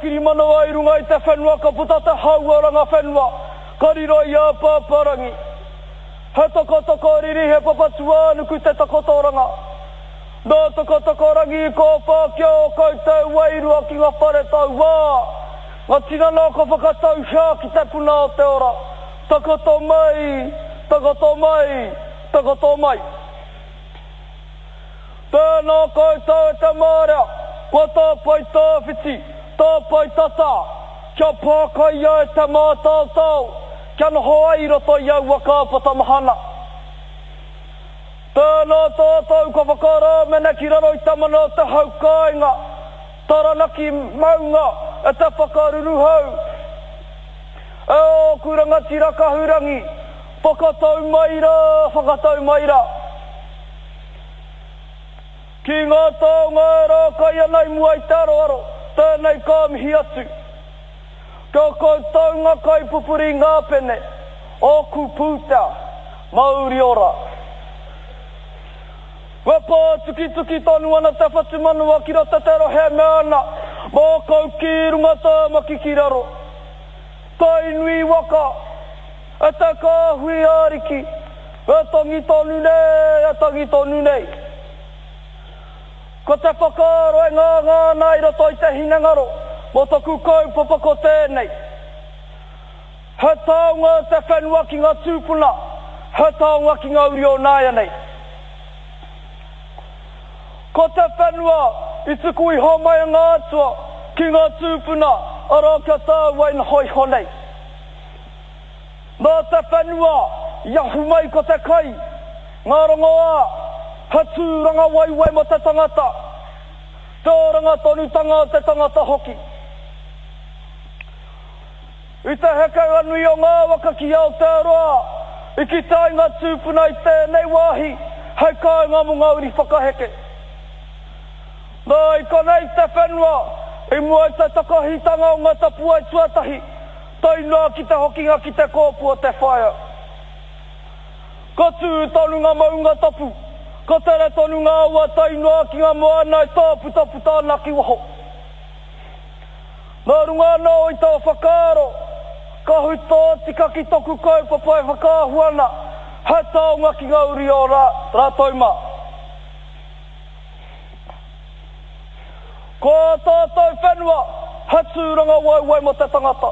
kirimanawa i runga i te whenua ka puta te hau o Rangawhenua, ka riro i a Pāpārangi. He tokotoko riri, he Papatūānuku te takotoranga. Nā Tokotokorangi i kōwhā ki ō koutou wairua ki ngā whare tauā, ngā tinana ka whakatauhia ki te puna o te ora. Takoto mai, takoto mai, takoto mai. Tēnā koutou e te marea, kua tāpae tāwhiti, tāpae tata, kia pākaia e te mātaotao, kia noho ai i roto i aua kāpata mahana. Tēnā tātou ka whakarāmene ki raro i te mana o te hau kāinga, Taranaki maunga e te whakaruruhau. E ōku rangatira kahurangi, whakatau mai rā, whakatau mai rā. Ki ngā taonga e rākai ana i mua i te aroaro, tēnei ka mihi atu. Kia koutou ngā kaipupuri i ngā pene, ōku pūtea, mauri ora. E pātukituki tonu ana te whatumanawa ki roto te rohe e mea ana, Mākau ki runga Tāmaki ki raro. Tainui waka, e te kāhui ariki, e tangi tonu nei, e tangi tonu nei. Ko te whakaaro e ngāngā ana i roto i te hinengaro mō taku kaupapa ko tēnei. He taonga te whenua ki ngā tūpuna, he taonga ki ngā uri o nāianei. Ko te whenua i tuku iho mai a ngā atua ki ngā tūpuna, arā kia tāua e noho iho nei. Nā te whenua i ahu mai ko te kai, ngā rongoā, he tūranga waiwai mō te tangata, te oranga tonutanga o te tangata hoki. I te hekenga nui o ngā waka ki Aotearoa, i kite ai ngā tūpuna i tēnei wāhi hei kāinga mō ngā uri whakaheke. Nā, i konei te whenua, i mua i te takahitanga o ngā tapuwae tuatahi, tae noa ki te hokinga ki te kōpū o te whaea. Ka tū tonu ngā maunga tapu, ka tere tonu ngā awa tae noa ki ngā moana e tāputaputa ana ki waho. Nā runga anō i tō whakaaro, ka hui tōtika ki toku kaupapa e whakaahua ana he taonga ki ngā uri o rātou mā. Ko ā tātou whenua he tūrangawaewae mō te tangata,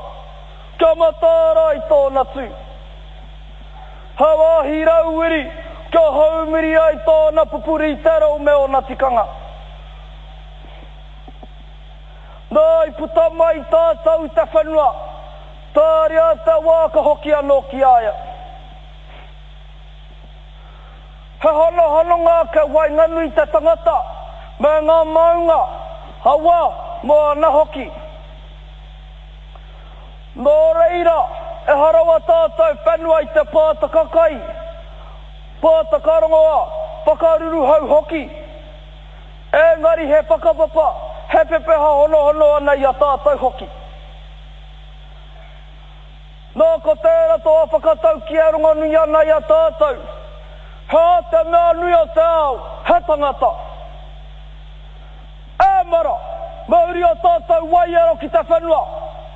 kia mataara ai tōna tū. He wāhi rauwiri kia haumiri ai tōna pupuri i te reo me ōna tikanga. Nā, i puta mai tātou i te whenua, tāria te wā ka hoki anō ki a ia. He honohononga ake waenganui te tangata me ngā maunga, awa, moana hoki. Nō reira, ehara wā tātou whenua i te pātaka kai, pātaka rongoā, whakaruruhau hoki. Engari he whakapapa, he pepeha honohono ana i a tātou hoki. Nā, ko tērā tō whakataukī e rongonui ana i a tātou, He aha te mea nui o te ao, he tangata. E mara, mauri o tātou waiaro ki te whenua,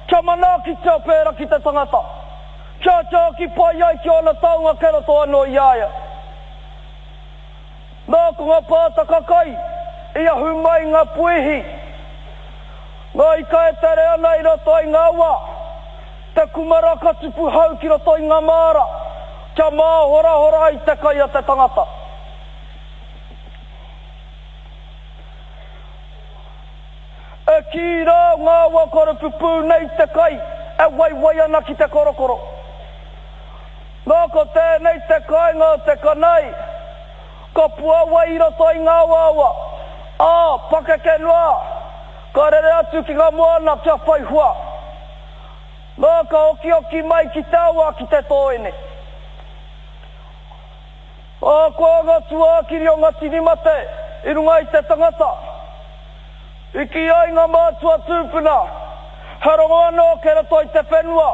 kia manaakitia pērā ki te tangata, kia tiaki pai ai ki ōna taonga kei roto anō i a ia. Nā, ko ngā pātaka kai i ahu mai ngā puihi, ngā ika e tere ana i roto i ngā awa, te kumara ka tupu hau ki roto i ngā māra, kia māhorahora ai te kai a te tangata. E kī rā ngā awa korupupū nei te kai e waiwai ana ki te korokoro. Nā, ko tēnei te kāinga o te kanai, ka puawai i roto i ngā awaawa, ā, pakeke noa, ka rere atu ki ngā moana kia whai hua. Nā, ka okioki mai ki te awa ki te tōene. Ahakoa ngā tūākiri o ngā tini mate i runga i te tangata, I kī ai ngā mātua tūpuna, he rongo anō kei roto i te whenua,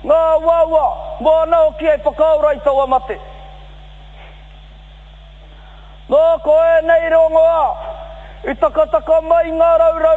ngā awaawa, moana hoki hei whakaora i taua mate. Nā, ko ēnei rongoā i takataka mai i ngā raurau.